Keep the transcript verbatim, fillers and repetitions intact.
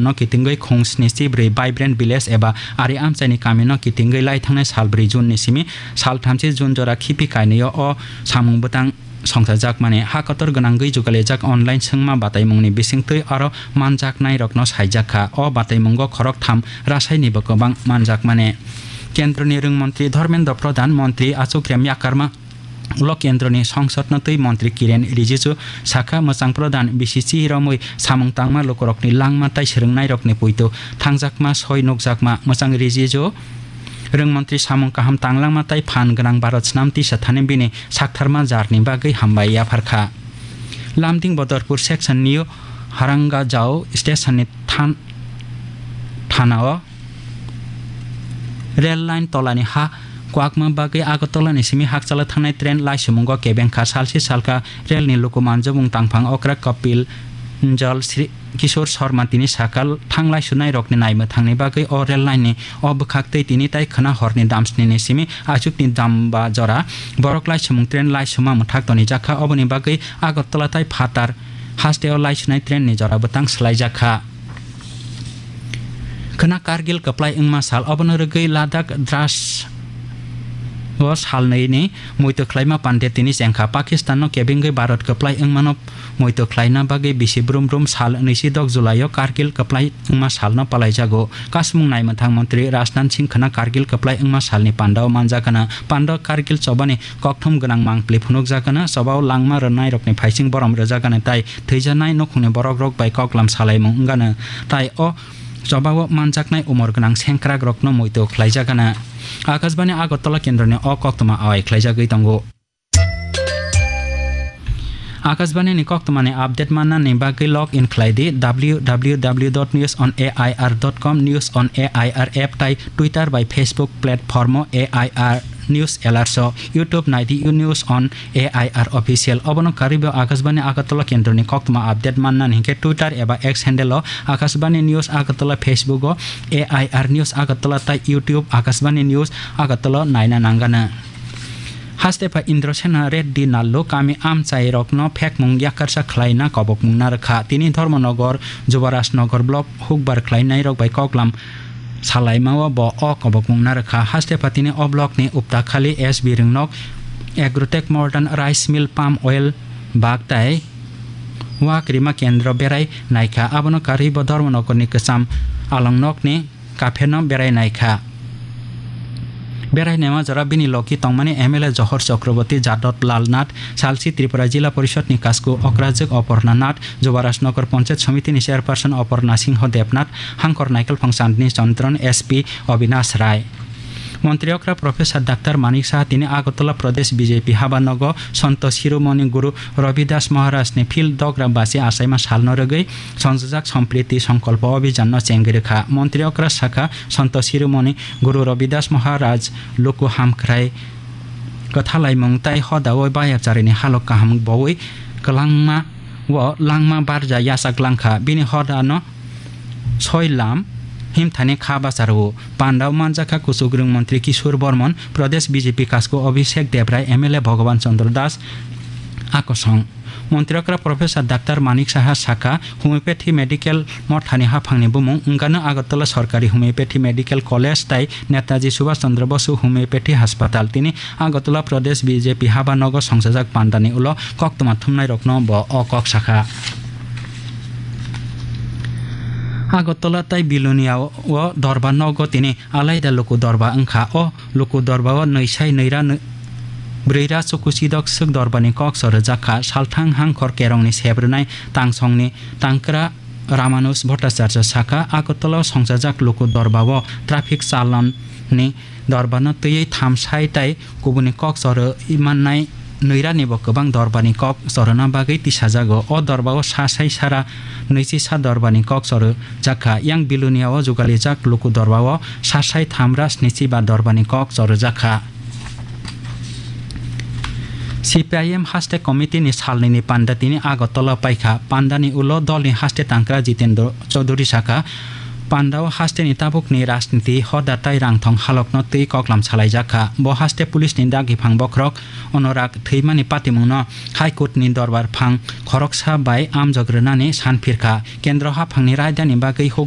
no kitingwi khung sni chi bwrwi Vibrant Village eba Ari Amchaini kamino kitingwi lai thangnai sal bwrwi June ni simi sal thamchi June jora khipi kainwio o samung bwtang songchajakmani ha kotor gwnangwi jugalijak online swngma bataimungni bisingtwi aro manjaknairokno saijakha. O bataimungo khoroktham rasainibo kwbang manjakmani. Kendroni rwngmontri Dharmendra Pradhan, montri Achuk Remya Karma, ulo kendroni songsodno twi montri Kiren Rijiju sakha, mwchang pradhan bisi chihiromwi samung tangma lukurokni langma tai swrwngnairokni poito thangjakma soi nukjakma. Mwchang Rijiju rwngmontri samung kaham tanglangma tai phan gwnang Bharat snam tisa thani bini saktharma jarni bagwi hambai yapharkha. Lamding Bodorpur section New Harangajao station ni than-, thana o Rail line tolani ha kwakma bagwi Agartala ni simi Hakchala thangnai train laisumungo kebengkha. Salsi salka rail ni luku manjabung tangphang okra Kapil Njal Sri Kishore Sharma tini sakal thang laisunai rokni naimwthangni bagwi o rail line ni o bwkhak tei tini tai khwna horni damsni ni simi achukni damba jora borok laisumung train laisuma mwthak tonijakha. Oboni bagwi Agartala tai phatar hasteo laisunai train ni jora bwtang swlaijakha. Khwna Kargil kwplai wngma sal, obono rwgwi Ladakh Dras o salnwi ni muitu khlaima pande tini chengkha. Pakistan no kebengwi Bharat kwplai wngmano muitu khlaina bagwi bisi brum brum sal nwisidok July o Kargil kwplai wngma salno palaijago. Kasmung naimwthang montri Rajnath Singh khwna Kargil kwplai wngma salni pandao manjakana. Pando Kargil chobani kokthum gwnang mangpli phunukjakana. Chobao langma rwnairokni phaising borom rwjakana tai thwijanai nukhungni borokrok bai koklam salaimung wngano, tai o chobao manjaknai umor gwnang sengkrakrokno muitu khlaijakana. Akashbani Agartala kendroni o koktwma awai khlaijagwi tongo. Akashbani ni koktwmani update mannani bagwi log in khlai di W W W dot news on A I R dot com, News on A I R app tai Twitter bai Facebook platform o A I R News Alerts o, YouTube nai di News on A I R Official. Obono karwibo Akashbani Agartala kendroni koktwma update mannani hinkhe Twitter eba X handle o Akashbani News Agartala, Facebook o A I R News Agartala tai YouTube Akashbani News Agartala naina nangano. Hastepha Indrasena Reddy Nallu kami amchairokno phekmung yakarsa khlaina kobokmung narwkha. Tini Dharmanagar, Jubarajnagar block hukbar khlainairok bai koklam salaimao bo o kobokmung narwkha. Hastepha tini o blockni Uptakhali S B Ringnok Agrotech Modern Rice Mill Palm Oil Bag tai Wak Rima Kendro berai naikha. Abono karwi bo Dharmanagarni kwcham Alangnokni kapheno berai naikha. Berai naima jora bini logi tongmani M L A Johor Chakraborty, Jadot Lal Nath, Salsi Tripura Jila Porishod ni kasku Okrajwk Oporna Nath, Jubarajnagar Panchayat Samiti ni Chairperson Oporna Singho Debnath, Hangkor Naikolphang Chandni Chandron, S P Obinash Rai. Montri okra Professor Doctor Manik Saha tini Agartala Pradesh B J P habanogo Santo Shiromoni Guru Ravidas Maharaj ni phil dogra basi achaima salno rwgwi songjak Sampriti Sankalpa Abhijan no chengwi rwkha. Montri okra sakha, Santo Shiromoni Guru Ravidas Maharaj luku hamkrai kwthalaimung tai hoda o bayapcharini halok kaham bowi kwlangma o langma barja yachak langkha. Bini hoda no soi lam himthani kha bacharo. Pandao manjakha kuchukrwng montri Kishore Bormon, Pradesh B J P kasku Abhishek Debrai, M L A Bhagavan Chandra Das akosong. Montri okra Professor Doctor Manik Saha sakha, homeopathy medical mothani haphangni bumung wngkano Agartala Sorkari Homeopathy Medical College tai Netaji Subhash Chandra Bosu Homeopathy Hospital. Tini Agartala Pradesh B J P habanogo songchajak pandani ulo koktwma thumnairokno bo o kok sakha. Agartala tai Bilonia o dorba nogo tini alaida luku dorba wngkha. O luku dorba o nwi sai nwi ra nwi-, bwrwi ra chukuchidok swk dorba ni kok chorwjak kha. Salthang Hangkhor Kerong ni sep rwnai Tangsong ni Tangkra Ramanuj Bhattacharya sakha, Agartala o songchajak luku dorba o traffic chalon ni dorba no twiwi tham sai tai kubuni kok chorwi mannai nwi ra ni bo kwbang dorba ni kok chorwna bagwi tisajago. O dorba o sa sai sara nwi chi sa dorba ni kok chorwjak kha. Yang Bilonia o jugalijak luku dorba o sa sai tham ra sni chi ba dorba ni kok chorwjak kha. C P I M haste committee ni salnwi ni panda tini Agartala paikha. Pandani ulo dolni haste tangkra Jitendra Chaudhary sakha, pandao hasteni tabukni rajniti hoda tai rangthong halokno twi koklam salaijakha. Bo haste police ni dagi phang bokhorok Anurag thwimani patimungno High Court ni dorbar phang khoroksa bai amjok rwnani san phirkha. Kendro haphangni raidani bagwi huk